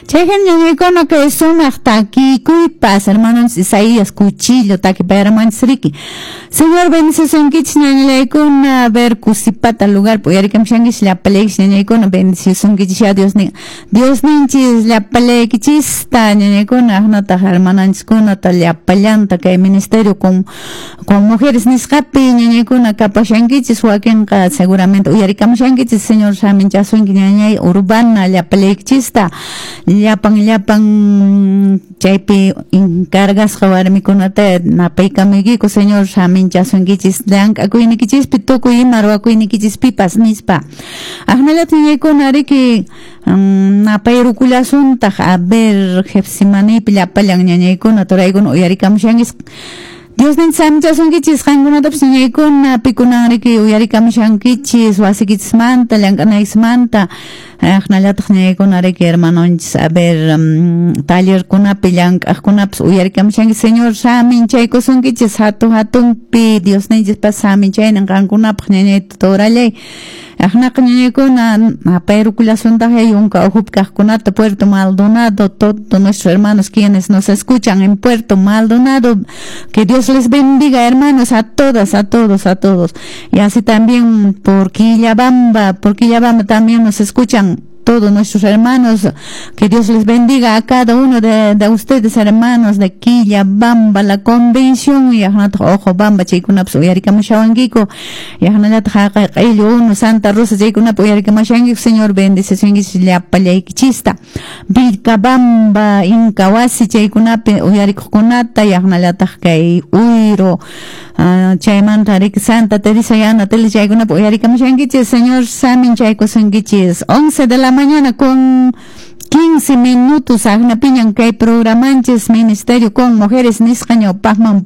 Chayhan ñañaykuna kay sumaq takikuypas hermanonchis Isaías Cuchillo takipayaramanchis riki. Señor bendicisunkichis ñañallaykuna, a ver Cusipata lugar uyarikamushankichis llapallaykichis ñañaykuna bendicisunkichis ya Dios nin Diosninchis llapallaykichista ñañaykuna aqnataq hermananchiskunata llapallanta kay ministerio con mujeres nisqapi ñañaykuna kapashankichis wakinqa seguramente uyarikamushankichis. Señor saminchasunki ñañay Urbana llapallaykichista llapan llapan chaypi encargasqa warmikunata napaykamuykiku. Señor saminchasunkichis llank'akuynikichispi tukuy ima ruwakuynikichispipas nispa. Aqnallata ñañaykuna riki napayrukullasuntaq, a ver, Getsemanípi llapallan ñañaykuna turaykuna uyarikamushankichis. Diosninchis saminchasunkichis qankunatapas ñañaykuna pikunan riki uyarikamushankichis wasikichismanta llank'anaykismanta. Aqnallataq ñañaykuna riki hermanonchis, a ver, tallerkunapi llank'aqkunapas uyarikamushankichis. Señor saminchaykusunkichis hatu hatunpi Diosninchispas saminchaynin qankunapaq ñañay turallay. Aqnaqa ñañaykuna napayrukullasuntaq yunka ukhupi kaqkunata, Puerto Maldonado, todos nuestros hermanos quienes nos escuchan en Puerto Maldonado, que Dios les bendiga, hermanos, a todas, a todos, a todos. Y así también por Quillabamba también nos escuchan todos nuestros hermanos, que Dios les bendiga a cada uno de ustedes, hermanos de Quillabamba, la convención, y Ojo Bamba, chaykunapas uyarikamushawankiku, y aqnallataq haqay q'illu unu Santa Rosa chaykunapi uyarikamushankiku. Señor bendicisunkichis llapallaykichista. Vilcabamba, Incahuasi chaykunapi uyarikuqkunata, y aqnallataq kay Uyro, chaymanta riki Santa Teresa Yana Tele chaykunapi uyarikamushankichis. Señor saminchaykusunkichis. 11 de la mañana con 15 minutos aqnapiñan kay programanchis Ministerio con Mujeres nisqa ñawpaqman.